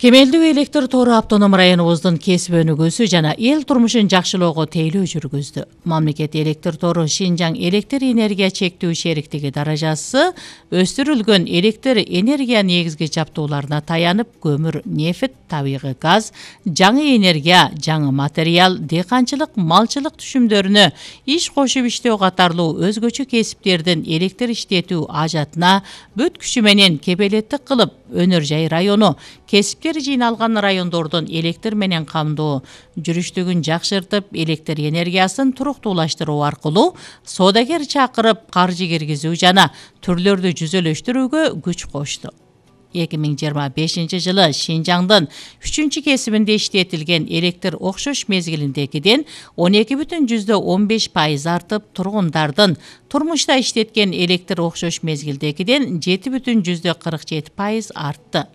Кемелдүү электр тору автоном районубуздун кесип өнүгүүсү жана эл турмушун жакшылоого тейлөө жүргүздү. Мамлекет электр тору Шинжаң электр энергия чектүү шериктиги даражасы өстүрүлгөн электр энергия негизги жабдууларына таянып, көмүр, нефть, табигый газ, жаңы энергия, жаңы материал, дыйканчылык, малчылык түшүмдөрүнө иш кошуп иштөө катарлуу өзгөчө кесиптердин электр иштетүү ажатына бүт күчү менен кепелеттик кылып, Өнөр Жай району кесиптер жыйналган райондордун электр менен камдоо жүрүштүгүн жакшыртып, электр энергиясын туруктуулаштыруу аркылуу соодагер чакырып, каржы киргизүү жана түрлөрдү жүзөлөштүрүүгө күч кошту. 2025 жылы Шинжаңдын 3-кесибинде иштетилген электр окшош мезгилиндегиден 12,15% артып, тургундардын турмушта иштеткен электр окшош мезгилдегиден 7,47% артты.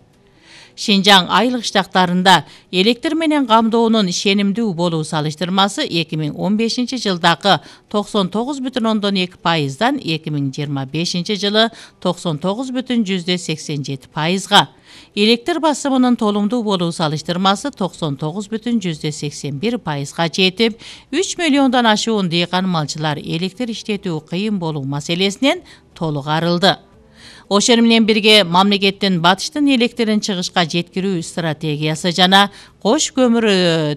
Шинжаң айылык штаттарында электр менен камдоонун ишенимдүү болуу салыштырмасы 2015 жылдагы 99,2%дан 2025 жылы 99,87%га, электр басымынын толумдуу болуу салыштырмасы 99,81%га жетип, 3 миллиондон ашуун дыйкан малчылар электр иштетүү кыйын болуу маселесинен толук арылды. Ошону менен бирге мамлекеттин батыштын электрин чыгышка жеткирүү стратегиясы жана кош көмүр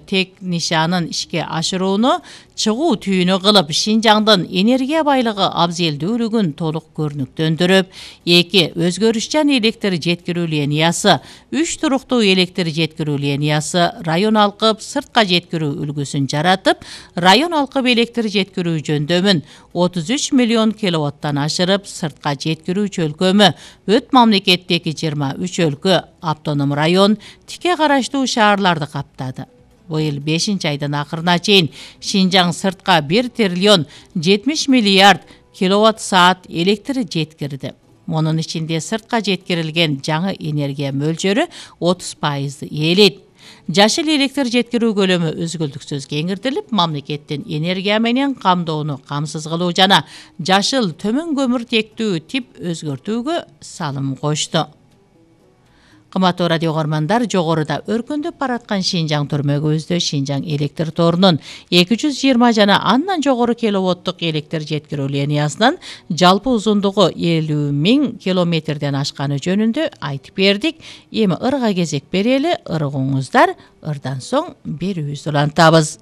технишанын ишке ашырууну чыгуу түйүнү кылып, Шинжаңдын энергия байлыгы абзелдүүлүгүн толук көрүнүктөндүрүп, 2 өзгөрүшчан электр жеткирүү линиясы, 3 туруктуу электр жеткирүү линиясы, район алкып сыртка жеткирүү үлгүсүн жаратып, район алкып электр жеткирүү жөндөмүн 33 миллион киловаттан ашырып, сыртка жеткирүү чөлкөмү өт мамлекеттеги 23 өлкө, автоном район, тике караштуу шаарларды каптады. Быйыл 5-айдын акырына чейин Шинжаң сыртка 1 триллион 70 миллиард киловатт саат электр жеткирди. Мунун ичинде сыртка жеткирилген жаңы энергия мөлчөрү 30% ээлейт. Жашыл электр жеткирүү көлөмү өзгөлтүксүз кеңиртилип, мамлекеттин энергия менен камдоону камсыз кылуу жана жашыл төмөн көмүр тектүү тип өзгөртүүгө салым кошту. Кымбаттуу радио көрөрмандар, жогоруда өркүндөп бараткан Шинжаң төрмөгүбүздө Шинжаң электр торунун 220 жана андан жогору киловаттык электр жеткирүү линиясынын жалпы узундугу 50.000 километрден ашканы жөнүндө айтып бердик. Эми ырга кезек берели, ыргыңыздар, ырдан соң берүүбүздү улантабыз.